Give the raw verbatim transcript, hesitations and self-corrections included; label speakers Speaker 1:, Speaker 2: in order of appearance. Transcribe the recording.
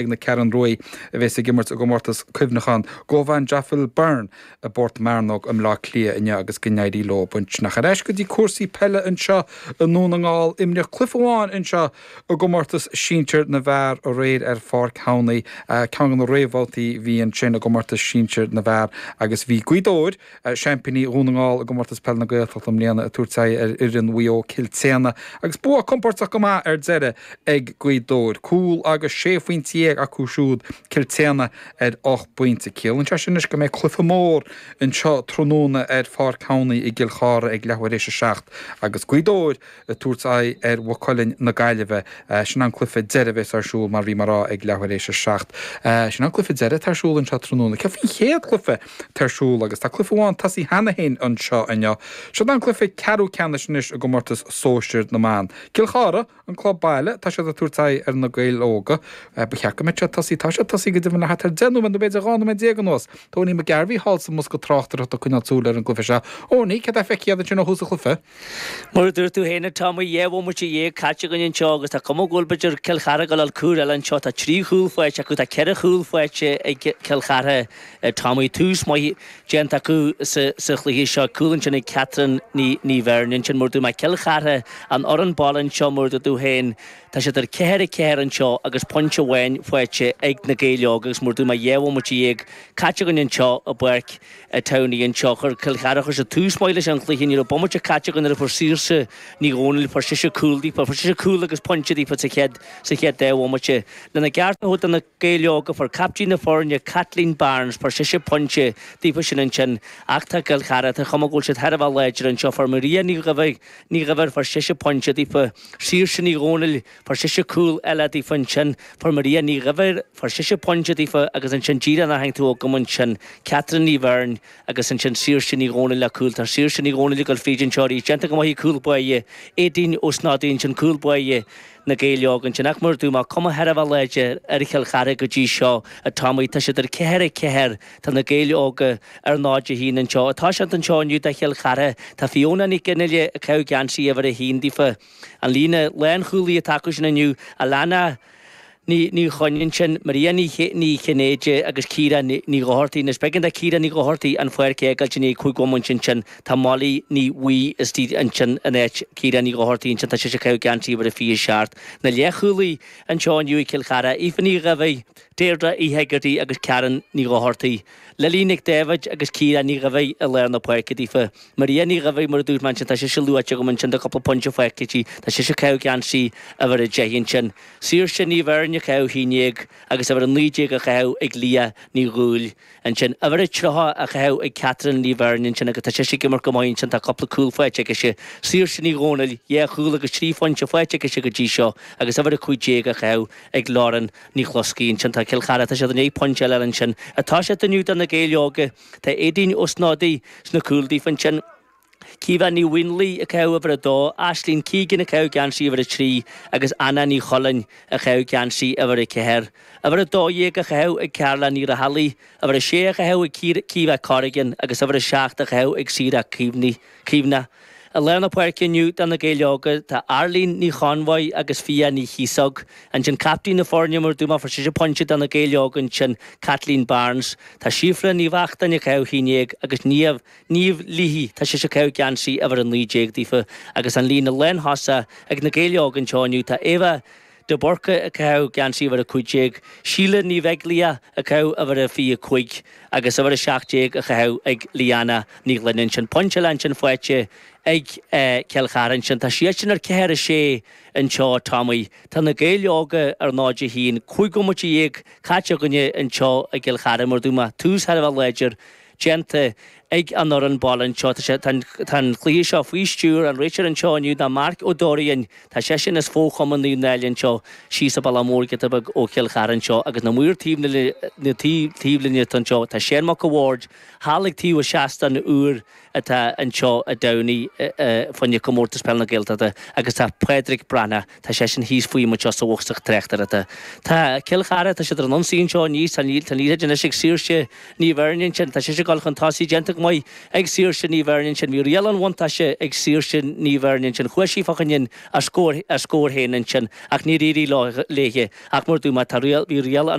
Speaker 1: ag na Ceathrún Rua a bheas ag imirt i gcomórtas cuimhneacháin Govan Jaffil Byrne i bPort Mearnóg i mBleá Cliath inniu agus go n-éirí leo ansin. Ar ais go dtí cúrsaí peile anseo i nDún na nGall imríodh cluiche amháin anseo i gcomórtas sinsir na bhfear aréir ar Pháirc Thamhnaigh ceann de na réamhbhabhtaí bhí ansin i gcomórtas sinsir na bhfear agus bhí Gaoth Dobhair seaimpíní Dhún na nGall i gcomórtas peile na Gaeltachta i mbliana ag tabhairt aghaidh ar fhoireann Mhaigh Eo Cill tSéadhna agus bua compordach go maith ar deireadh ag Gaoth Dobhair. Cúl agus sé phointe dhéag acu siúd Cill tSéadhna ar ocht bpointe. Ciallaíonn sé sin anois go mbeidh cluiche mór anseo tráthnóna ar Pháirc Thamhnaigh i gCill Chartha ag leathuair éis a seacht agus Gaoth Dobhair ag tabhairt aghaidh ar Mhaigh Cuilinn na Gaillimhe. Sin an cluiche deiridh a bheas ar siúl mar bhí mé ag rá ag leathuair éis a seacht. Sin an cluiche deiridh atá ar siúl anseo tráthnóna. Céard faoin chéad chluiche atá ar siúl agus tá cluiche amháin tosaithe cheana féin anseo inniu. Seo an cluiche ceathrú ceannais anois i gcomórtas sóisir na mban. Cill Chartha an club baile tá siad ag tabhairt aghaidh ar na Gaeil Óga. Ba cheart go mbeadh siad tosaithe tá siad tosaithe go deimhin le thart ar deich nóiméad nó b'fhéidir dhá nóiméad déag anuas. Tony McGarvey thall sa mbosca tráchtaireachta ag coinneáil súil ar an gcluiche seo. Owenie, cad é feicthe agat ansin ó thús an chluiche?
Speaker 2: Mar a dúirt tú féin tá mo dhá bhomaite dhéag caite againn anseo agus tá cuma go bhfuil b'fhéidir Cill Chartha ag dul cúl eile anseo tá trí chúl faighte acu tá ceithre chúl faighte ag Cill Chartha Tommy tús maith déanta acu sa sa chluiche seo cúl ansin ag Catherine Ní Ní Bheirn ansin mar dúirt mé Cill Chartha an fhoireann baile anseo mar dúirt tú féin tá siad ar ceathair a ceathair anseo agus pointe amháin faighte ag na Gaeil Óga agus mar dúirt mé dhá bhomaite dhéag caite againn anseo i bPáirc Towney anseo chuir Cill Chartha chuir siad tús maith leis an chluiche ní raibh bomaite caite againn nuair a fuair Saoirse Ní Dhomhnaill fuair sise cúl daofa fuair sise cúl agus pointe daofa sa chéad sa chéad dá bhomaite lena gceart a thabhairt do na Gaeil Óga fuair captaen na foirne Kathleen Barnes fuair sise pointe daofa sin ansin ach tá Cill Chartha tá cuma go bhfuil siad thar a bheith láidir anseo fuair Maria Ní Dhuibhir Ní Dhuibhir fuair sise pointe daofa Saoirse Ní Dhomhnaill fuair sise cúl eile daofa ansin fuair Maria Ní Dhuibhir fuair sise pointe daofa agus ansin díreach nach tú agam ansin Catherine Ní Bheirn agus ansin Saoirse Ní Dhomhnaill le cúl tá Saoirse Ní Dhomhnaill ag dul fríd anseo arís déanta go maith cúl báire Éadaoin Ó Snodaigh ansin cúl báire na Gaeil Óga ansin ach mar dúirt mé cuma thar a bheith láidir ar Chill Chartha go dtí seo a Tommy tá siad ar ceathair a ceathair tá na Gaeil Óga ar náid a haon anseo atá siad anseo inniu do Chill Chartha tá Fiona Ní Ginile ag caitheamh geansaí uimhir a haon daofa an líne lánchúlaí atá acu sin inniu Alana Ní Ní Choinín sin Maria Ní Ní Chinnéide agus Ciara Ní Ní Dhochartaigh Anois b'éigean do Ciara Ní Dhochartaigh an pháirc a fhágáilt i ndiaidh cúig bhomaite ansin tá Molly Ní Bhuí istigh ansin in áit Ciara Ní Dhochartaigh ansin tá sise ag caitheamh geansaí uimhir a fiche seacht na leathchúlaithe anseo inniu i Cill Chartha Aoife Ní Dhuibhir Deirdre Uí Hegarty agus Karen Ní Dhochartaigh Lily Nic David agus Ciara Ní Dhuibhir i lár na páirce daofa Maria Ní Dhuibhir mar a dúirt mé ansin tá sise luaite agam ansin do cúpla pointe faighte aici tá sise ag caitheamh geansaí uimhir a deich ansin Saoirse Ní Bheirn ag caitheamh haon déag agus uimhir a naoi déag á chaitheamh ag Lia Ní Dhúill ansin uimhir a tríocha á chaitheamh ag Catherine Ní Bheirn ansin agus tá sise ag imirt go maith ansin tá cúpla cúl faighte aici Saoirse Ní Dhomhnaill dhá chúl agus trí phointe faighte aici go dtí seo agus uimhir a cúig déag á chaitheamh ag Lauren Ní Chloscaí ansin tá Cill Chartha tá siad i ndiaidh pointe eile ansin atá siad inniu do na Gaeil Óga tá Éadaoin Ó Snodaigh sna cúil daofa ansin Caoimhe Ní Mhaoinlí ag caitheamh uimhir a dó, Aislinn Keegan ag caitheamh geansaí uimhir a trí agus Anna Ní Chulainn ag caitheamh geansaí uimhir a ceathair. Uimhir a dó dhéag á chaitheamh ag Carla Ní Raghallaigh, uimhir a sé á chaitheamh ag Caoimhe Corrigan agus uimhir a seacht á chaitheamh ag Sarah Caoimhne. I lár na páirce inniu do na Gaeil Óga tá Arlene Ní Chonbhaigh agus Fia Ní Chíosóg. Ansin captaen na foirne mar dúirt mé fuair sise pointe do na Gaeil Óga ansin Kathleen Barnes. Tá Síofra Ní Bheachtain ag caitheamh haon déag agus Niamh Niamh Leahy tá sise ag caitheamh geansaí uimhir a naoi déag daofa agus an líne lánthosaigh ag na Gaeil Óga anseo inniu tá Eva de Burca ag caitheamh geansaí uimhir a cúig déag, Síle Ní Bheaglaoich ag caitheamh uimhir a fiche cúig agus uimhir a seacht déag á chaitheamh ag Liana Ní Ghlinn ansin. Pointe eile ansin faighte ag Cill Chartha ansin. Tá siad sin ar ceathair a sé anseo Tommy. Tá na Gaeil Óga ar náid a haon, cúig bhomaite dhéag caite againne anseo i gCill Chartha mar dúirt mé tús thar a bheith láidir déanta ag an fhoireann baile anseo. Tá sé tá an cluiche seo faoi stiúir an réiteoir anseo inniu ná Marc Ó Dóraín. Tá seisean as fo-chumann Naomh Náille anseo síos sa Bhaile Mór giota beag ó Chill Chartha anseo agus na maoir taobh na taobhlíne anseo tá Séan Mac a' Bhaird thall ag taobh an seastáin úr atá anseo i dTamhnaigh fá choinne Comórtas Peile na Gaeltachta agus tá Pádraig Breathnach tá seisean thíos faoi anseo sa bhosca tráchtaireachta. Tá Cill Chartha tá siad ar an ionsaí anseo aníos tá an liathróid anois ag Saoirse Ní Bheirn ansin tá sise ag dul chun tosaigh déanta go go maith ag Saoirse Ní Bheirn ansin bhí riail an bhuntáiste ag Saoirse Ní Bheirn ansin chuaigh sí fá choinne a scór a scór féin ansin ach níor éirigh léi ach mar dúirt mé tá riail bhí riail an